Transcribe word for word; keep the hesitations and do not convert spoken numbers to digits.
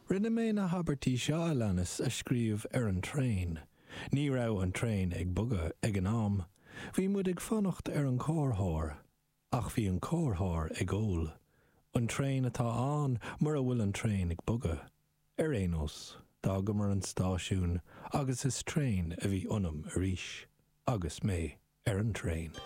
Rinne mé na habairtí seo a leanas a scríobh ar an traein. Ní raibh an traein ag bogadh ag an am. Bhí muid ag fanacht ar an chomharthóir, ach bhí an comharthóir ag ól. An traein atá ann mura bhfuil an traein ag bogadh. Ar aon nós, d'fhágamar an stáisiún agus is traein a bhí ionam arís, agus mé ar an traein.